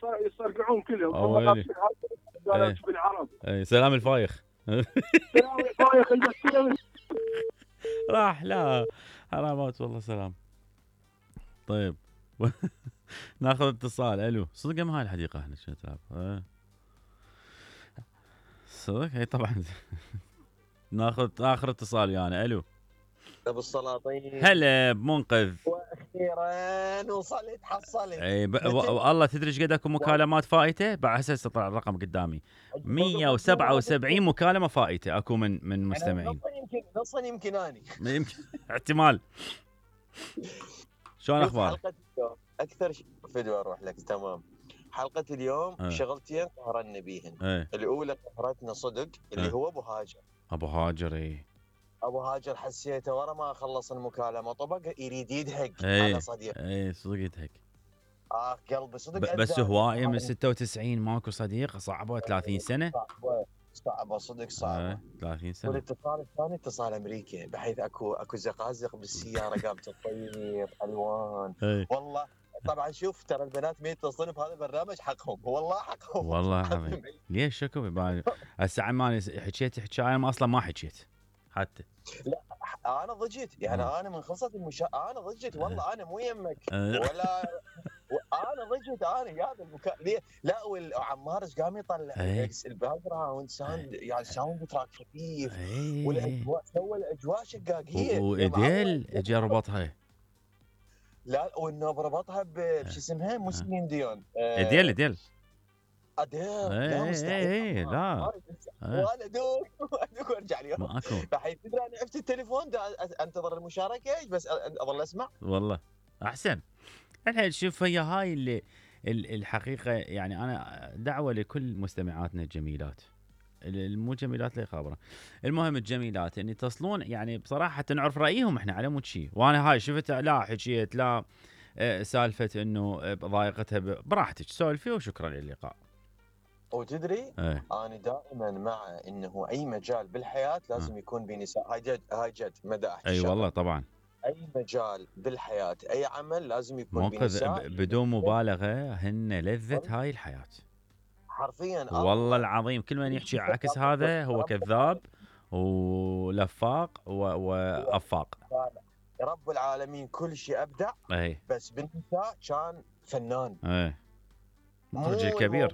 ويسترجعون كلهم. اويلي قالوا بالعرب. سلام الفايخ. سلام الفايخ عندك. راح لا حرامات والله. سلام. طيب ناخذ اتصال. الو صدق ما هاي الحديقه احنا شو تلعب صدق هي طبعا. ناخذ اخر اتصال يعني. الو ابو السلاطين. هلا بمنقذ. واخيرا وصلت حصلت. اي والله تدري ايش قد اكو مكالمات فائته؟ بعد هسه طلع الرقم قدامي 177 مكالمه فائته اكو من مستمعين. نصا يمكن اني يمكن احتمال. شلون اخبارك؟ حلقه اليوم اكثر فيديو اروح لك. تمام. حلقه اليوم شغلتين قهرنا بيهن. الاولى قهرتنا صدق اللي هو ابو هاجر. ابو هاجر ابو هاجر حسيته ورا ما خلص المكالمه طبق يريد يدهق على صديق. صدق يدهق. قلبي صدق. بس هوايه من 96 ماكو صديق. صعبه 30 سنه. صعبه صدق صعبه. 30 سنه. والاتصال الثاني اتصال امريكي بحيث اكو زقازق بالسياره قامت تطير الوان. والله طبعا شوف ترى البنات ما يتصلون بهذا البرنامج حقهم. والله حقهم والله العظيم. ليش شكو هسه عماني حكيت حكايه ما اصلا ما حكيت حتى. لا انا ضجيت يعني. انا من خلصت انا ضجيت والله. انا مو يمك ولا انا ضجيت. انا هذا ليه لا. وعمار ايش قام يطلع الباك جراوند ساوند يعني ساوند تراك خفيف. والاجواء سوى الاجواء شقاقيه. واديل اجى ربطها. لا وانه بربطها بش اسمها مو سيلين ديون. اديل اديل. لا مستحيل. لا وانا ادوق وارجع اليوم ماكو. بحيث تدري انا عرفت التليفون انتظر المشاركه بس اظل اسمع. والله احسن. الحين شوف هي هاي اللي الحقيقه يعني. انا دعوه لكل مستمعاتنا الجميلات المو جميلات لا يخابره. المهم الجميلات ان يتصلون يعني بصراحه حتى نعرف رايهم احنا على مود شيء. وانا هاي شفت لا حكيت لا سالفه انه ضايقتها براحتك سولفي وشكرا للقاء. وتدري انا دائما مع انه اي مجال بالحياه لازم يكون بنساء. هاي جد مداح. اي والله طبعا. اي مجال بالحياه اي عمل لازم يكون بنساء. بدون مبالغه هن لذه هاي الحياه حرفيا. والله العظيم. كل من يحكي عكس هذا هو كذاب ولفاق وافاق. رب العالمين كل شيء ابدع. بس بالنساء كان فنان. مخرج كبير.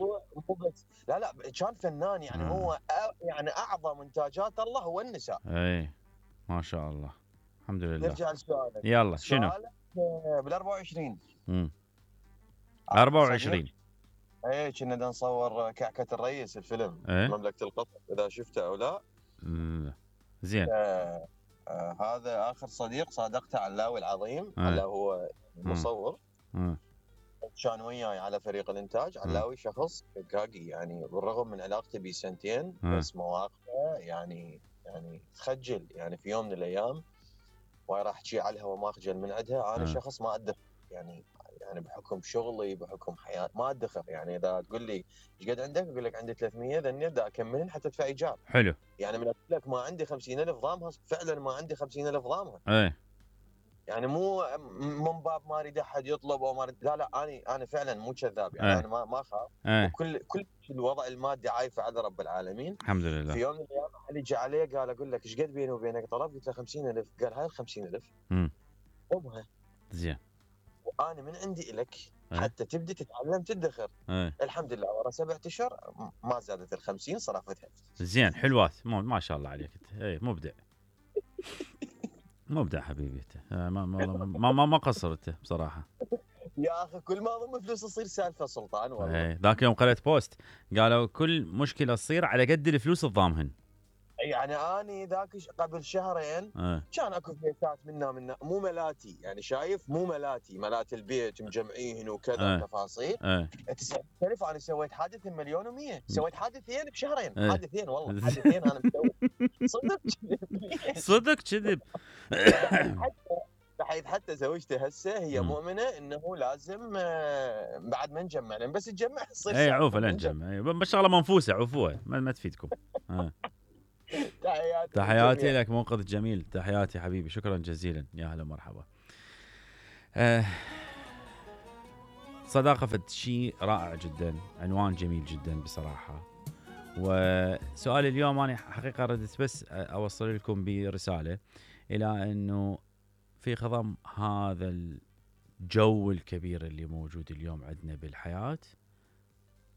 مو بس لا كان فنان يعني. هو يعني اعظم انتاجات الله هو النساء. ما شاء الله. الحمد لله. نرجع لسؤالك. يلا شنو؟ بال 24 24 كنا نصور كعكة الرئيس الفيلم مملكة القطر اذا شفته او لا. زين. هذا اخر صديق صادقته علاوي العظيم. علاوي هو مصور. كان وياي على فريق الانتاج. علاوي شخص حقاقي يعني بالرغم من علاقتي بيه سنتين بس مواقفه يعني تخجل يعني. في يوم من الايام واي راح تشي على الهواء ما اخجل من عندها. انا شخص ما ادخر يعني بحكم شغلي بحكم حياتي ما ادخر يعني. اذا تقول لي ايش قد عندك اقول لك عندي 300 ذني ابدا اكملن حتى ادفع ايجار. حلو يعني من اقول لك ما عندي 50,000 ضامها فعلا ما عندي 50,000 ضامها. يعني مو من باب ما اريد احد يطلب او ما أريد. لا انا فعلا مو كذاب يعني. انا ما اخاف. وكل الوضع المادي عايفه على رب العالمين الحمد لله. في يوم من الايام احد يجي علي قال اقول لك ايش قد بيني وبينك طلب؟ قلت له 50,000. قال هاي ال 50,000 خذها. زين. وانا من عندي لك حتى تبدي تتعلم تدخر. الحمد لله ورا 7 اشهر ما زادت ال 50 صرفتها. زين حلوات ما شاء الله عليك انت. مبدع. مبدع حبيبي انت. ما قصرت بصراحه. يا اخي كل ما اضم فلوس تصير سالفه سلطان والله. ذاك يوم قرأت بوست قالوا كل مشكله تصير على قد الفلوس الضامهن. يعني اني ذاك قبل شهرين كان اكو فيسات منا مو ملاتي يعني. شايف مو ملات البيت مجمعين وكذا تفاصيل. 90,000 انا سويت حادث 1,100,000. سويت حادثين بشهرين. حادثين والله حادثين انا مسوي. صدق كذب. بحيث حتى زوجتي هسه هي مؤمنه انه لازم بعد ما نجمع لان بس تجمع تصير عوفه لا نجمع. بس شغله منفوسه عوفوها ما تفيدكم. تحياتي لك منقذ جميل. تحياتي حبيبي شكرا جزيلا. يا هلا مرحبا. صداقة فد شيء رائع جدا، عنوان جميل جدا بصراحة. وسؤال اليوم أنا حقيقة ردت بس أوصل لكم برسالة إلى أنه في خضم هذا الجو الكبير اللي موجود اليوم عندنا بالحياة،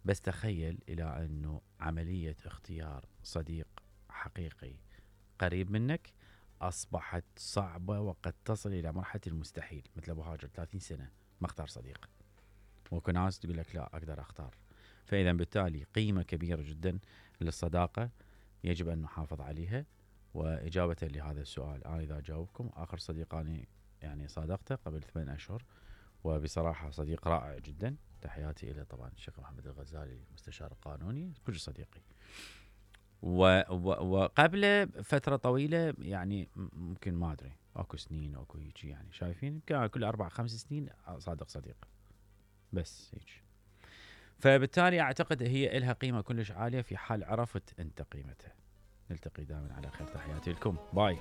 بس تخيل إلى أنه عملية اختيار صديق حقيقي قريب منك أصبحت صعبة وقد تصل إلى مرحلة المستحيل. مثل أبو هاجر 30 سنة ما اختار صديق، وكل ناس تقول لك لا أقدر أختار. فإذا بالتالي قيمة كبيرة جدا للصداقة يجب أن نحافظ عليها. وإجابة لهذا السؤال، أنا إذا جاوبكم آخر صديق أنا يعني صادقته قبل 8 أشهر، وبصراحة صديق رائع جدا. تحياتي إلى طبعا الشيخ محمد الغزالي المستشار القانوني، كل صديقي. وقبل فترة طويلة يعني ممكن ما أدري أكو سنين أكو هيك يعني شايفين يمكن كل 4-5 سنين صادق صديق بس هيك. فبالتالي أعتقد هي إلها قيمة كلش عالية في حال عرفت أنت قيمتها. نلتقي دائما على خير، تحياتي لكم، باي.